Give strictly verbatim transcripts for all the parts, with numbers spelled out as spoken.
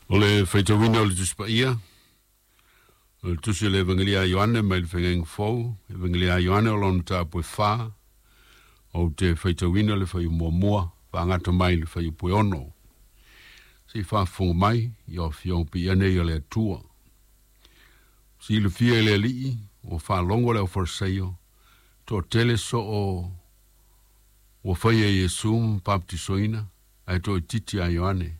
O le faitauina o le Tusi Paia, o le Tusi o le Evagelia a Ioane mai le Feagaiga Fou, Evagelia a Ioane o lona mataupu e fa, ou te faitauina le fuaiupu muamua, faagata mai le fuaiupu e ono. Se i faafofoga mai i Afioga Paia nei a le Atua. Silafia e le Alii, ua faalogo le aufalesaio, toatele soo ua faia e Iesu ma papatisoina, ae toaitiiti a Ioane.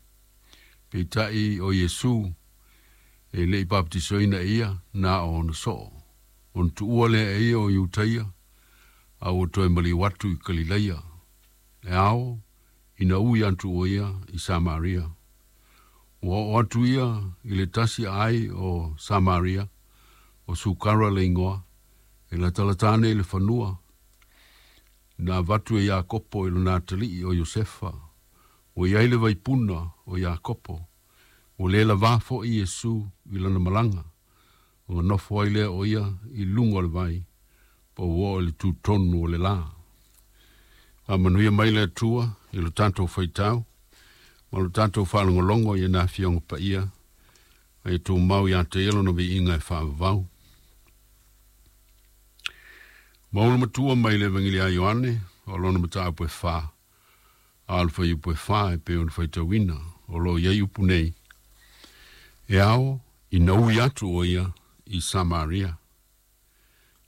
Peitai o Iesu e le i papatisoina e ia na o ona soo. Ona tuua lea e ia o Iutaia, a ua toe maliu atu i Kalilaia. E ao ina ui atu o ia i Samaria. Ua oo atu ia i le tasi aai o Samaria, o Sukara le igoa, e latalata ane i le fanua, na avatu e Iakopo i lona atalii o Iosefa. Ua i ai le vaipuna o Iakopo, ua le lavā foi Iesu i lana malaga, ona nofo ai lea o ia i luga o le vai, po ua oo i le tutonu o le la. Faamanuia mai le Atua i lo tatou faitau ma lo tatou faalogologo i ana Afioga Paia, a ia tumau ia te ia lona viiga e faavavau. Maulu matua mai le Evagelia a Ioane, o lona mataupu e fa, a o le fuaiupu e fa e pei ona faitauina, o lo o i ai upu nei, E ao ina ui atu o ia i Samaria.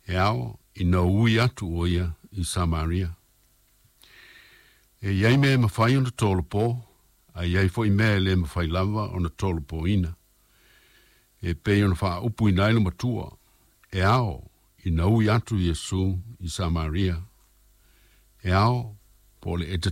E ao ina ui atu o ia i Samaria. E i ai mea e mafai ona tolopo, a i ai foi mea e le mafai lava ona tolopoina. E pei ona faaupuina ai le matua, e ao ina ui atu Iesu i Samaria. E ao, po o le e